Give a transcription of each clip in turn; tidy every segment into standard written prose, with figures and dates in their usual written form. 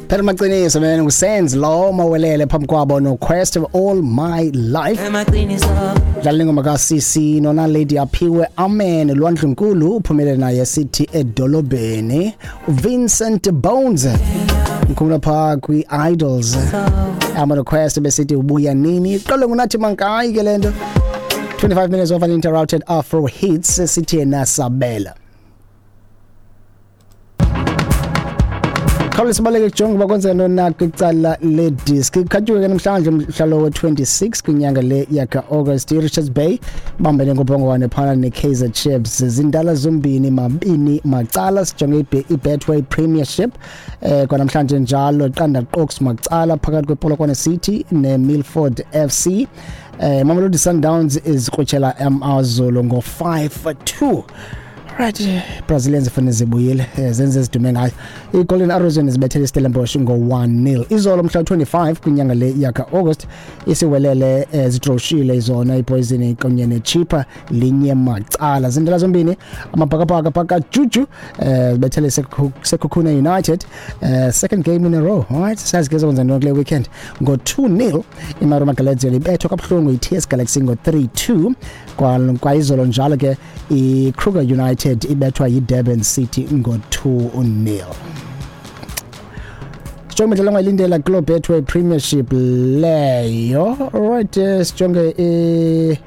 Phela maqiniso man, uSenz lo mawelele phambi kwabo no Quest of All My Life. Dlala ingoma ka CC nona Lady Aphiwe Amen Lwandlunkulu uphumelele naye sithi edolobheni. Vincent Bones mkhumula pha kwi Idols. I'm on a quest besithi ubuya nini? Iqale ngunathi Mankayi ke lento. 25 minutes of uninterrupted Afro hits, sithi yena Sabela. Khawule sibaleke kujonga uba kwenzeka ntoni na kwicala lediski. Kukhatywe ke namhlanje umhla we-26 kwinyanga le yaka-August. I-Richards Bay bambene ngobhongwane phana ne-Kaizer Chiefs. Zindala zombini mabini macala. Sijonge i-Betway Premiership kwanamhlanje njalo, qanda qoks macala phakathi kwePolokwane City ne-Milford FC. Mamelodi Sundowns izikrutshela AmaZulu ngo-5-2. Right, Brazilians funa zibuyile, zenze zidume ngayo. I-Golden Arrows yona zibethele iStellenbosch ngo-1-0 izolo mhla 25 kwinyanga le yaka-August. Isiwelele zidroshile zona iPoison kunye neChippa linye macala. Zindela zombini amabhakabhaka phaka juju zibethele Sekhukhune United, second game in a row. All right, sazi ke zokwenza ntoni kule weekend ngo-2-0. IMarumo Gallants yona ibethwa kabuhlungu i-TS Galaxy ngo-3-2. Kwayizolo njalo ke i-Kruger United ibethwa yi-Durban City ngo-2-0. Sijonge imidlalo ongayilindela kuloo Betway Premiership leyo. Alright, sijonge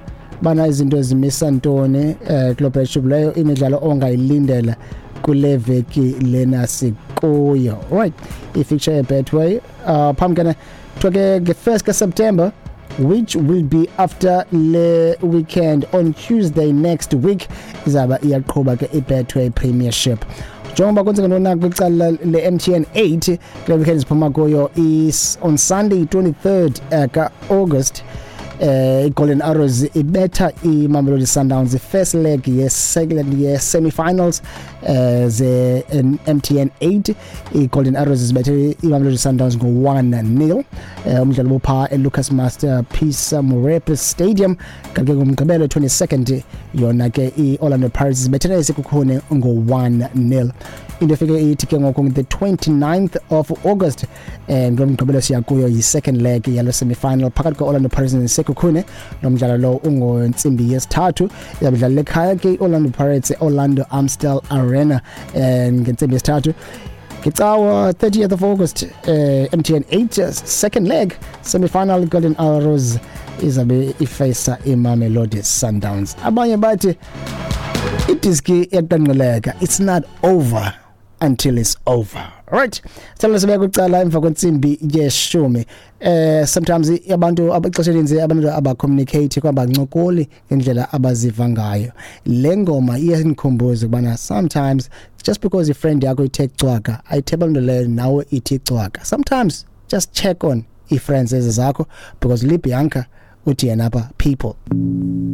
bana izinto ezimisa ntoni kuloo Premiership leyo, imidlalo ongayilindela kule veki lena sikuyo. Alright, i-fixture ye-Betway phambi kena kuthiwa ke nge-1st kaSeptember, which will be after le weekend on Tuesday next week, izaba iyaqhuba ke i-Betway Premiership. Njengoba kwenzeka ntoni na kwicala le-MTN 8 kule weekend siphuma kuyo, is on Sunday 23rd ka-August, iGolden Arrows ibetha iMamelodi Sundowns, first leg ye-second ye-semi-finals ze MTN 8. iGolden Arrows zibethe iMamelodi Sundowns ngo-1-0. Umdlalo bupha eLucas Masterpiece Moripe Stadium. Kanti ke ngoMgqibelo 22nd yona ke i-Orlando Pirates zibethele iSekhukhune ngo-1-0. Into efike ithi ke ngoku the 29th of August, ngomgqibelo siya kuyo, yi-second leg yalo semi-final phakathi kwe-Orlando Pirates neSekhukhune. Lo mdlalo lo ungontsimbi yesithathu, izabudlalela ekhaya ke i-Orlando Pirates, Orlando Amstel Arena, ngentsimbi yesithathu. Ngecawa 30th of August, MTN 8 second leg semi-final, Golden Arrows izabe ifacea iMamelodi Sundowns. Abanye bathi idiski iyaqanqeleka, it's not over until it's over. Alright, sicela sibeke kwicala emva kwentsimbi yeshumi. Sometimes abantu abaxesha elinzi abantu abacommunicate kwabancokoli ngendlela abaziva ngayo. Le ngoma iyandikhumbuza ukubana sometimes just because ifriend yakho ithe cwaka, ayitheba loo nto leyo nawe ithi cwaka. Sometimes just check on ii-friends ezi zakho, because Libianca uthi yena apha people.